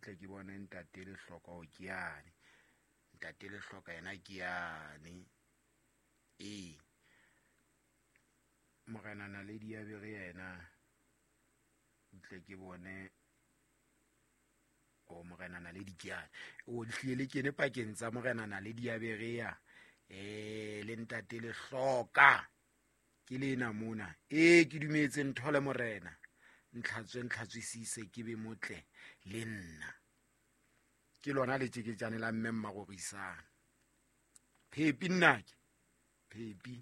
Butle ke bone ntate Lehloka o ke yane. Ntate Lehloka yena ke yane. Ee. Morena Naledi ya bere yena. Butle ke bone o Morena Naledi ke yane. O hlile le kene pakeng tsa Morena Naledi ya Berea le ntate Lehloka. Ke lena mona. Ee, ke dumetse ntho le Morena. Ntlhatswe ntlhatswisise ke be motle le nna. Ke lona le tjeketjane la mme Mmarorisang. Phepi nnake. Phepi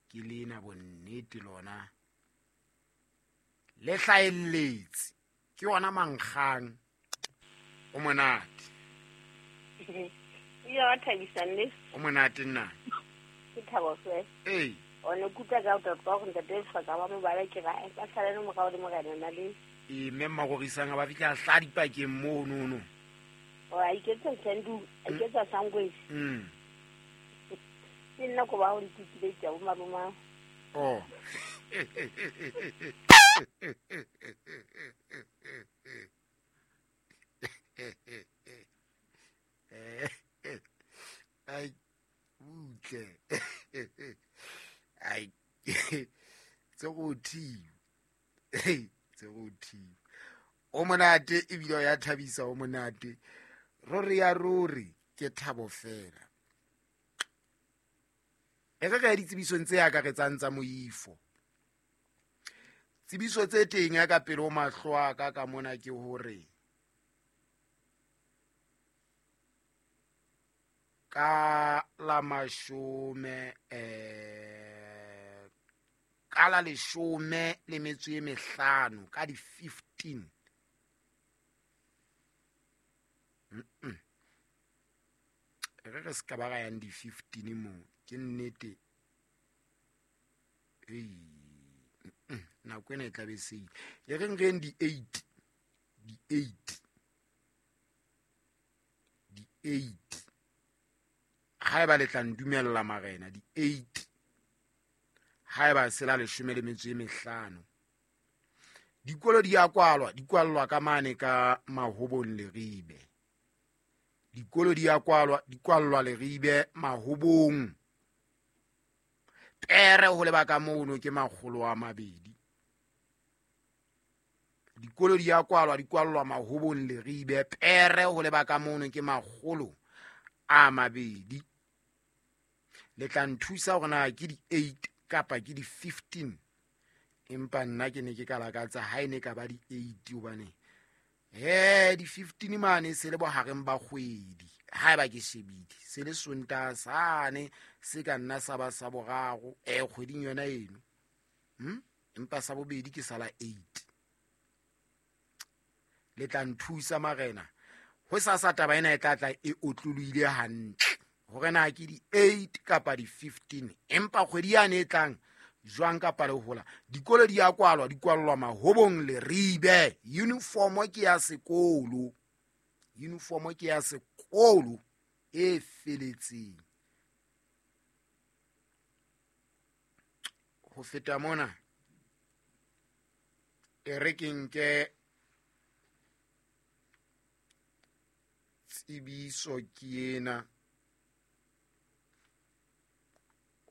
ke lena bonnete lona. Le hlaelletse. Ke yona mankgang. O monate. Ile wa thabisa nne. O monate nna. Ke thabo fe. Ee. O ne kutlwa ka tota gore ntate Lehloka ba mo bala ke ra ba sala le morao le Morena Naledi. Ee, mme Mmarorisang ba fihla hla dipakeng mono no. O a iketsa sandu, a iketsa sangwesi. Ke nna ko ba go ntikile tsa bo maloma. Oh. Ai, butle. Ai. Tse go thiba. Tse go thiba. O monate ebile o ya thabisa o monate. Ruri ya ruri ke thabo fela. E re re ya ditsebisong tse akaretsang tsa moifo. Tsebiso tse teng ya ka pele ho mahlo a ka ka mona ke hore ka la mashome ka la leshome le metso e mehlano ka di 15. Re re se ka ba ra yang di 15 mo ke nnete. Ei, nako ena e tla be se ile. E reng re di 8, di 8, di 8. Ha eba le tla ndumella marena di 8. Ha eba se la leshome le metso e mehlano. Dikolo di a kwalwa, di kwallwa ka mane ka Mahobong Leribe. Dikolo di a kwalwa, di kwallwa Leribe Mahobong. Pere ho leba ka mono ke makgolo a mabedi. Dikolo di a kwalwa, di kwallwa Mahobong Leribe. Pere ho leba ka mono ke makgolo a mabedi. Le tla nthusa hore na ke di 8 kapa ke di 15. Empa nna ke ne ke ka lakatsa ha e ne ka ba di 8 hobane di 15 mane se le bohareng ba kgwedi. Ha eba ke shebile se le Sontaha sane se ka nna sa ba sa boraro kgweding yona eno. Empa sa bobedi ke sala 8. Le tla nthusa marena. Ho sasa taba ena e tla tla e otlolohile hantle. Hore na ke di 8 kapa di 15. Empa kgwedi yane e tlang jwang kapa le hola. Dikolo di a kwalwa, di kwallwa Mahobong Leribe. Uniform ke ya sekolo. Uniform ke ya sekolo e feletseng. Ho feta mona e re ke nke tsebiso ke ena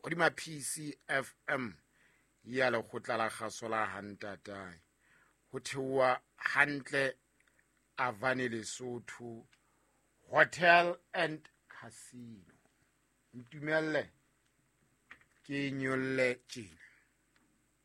hodima PCFM ya lekgotla la kgaso la Hantatae. Ho theoha hantle Avane Lesotho Hotel and Casino. Ntumelle ke nyolle tjena.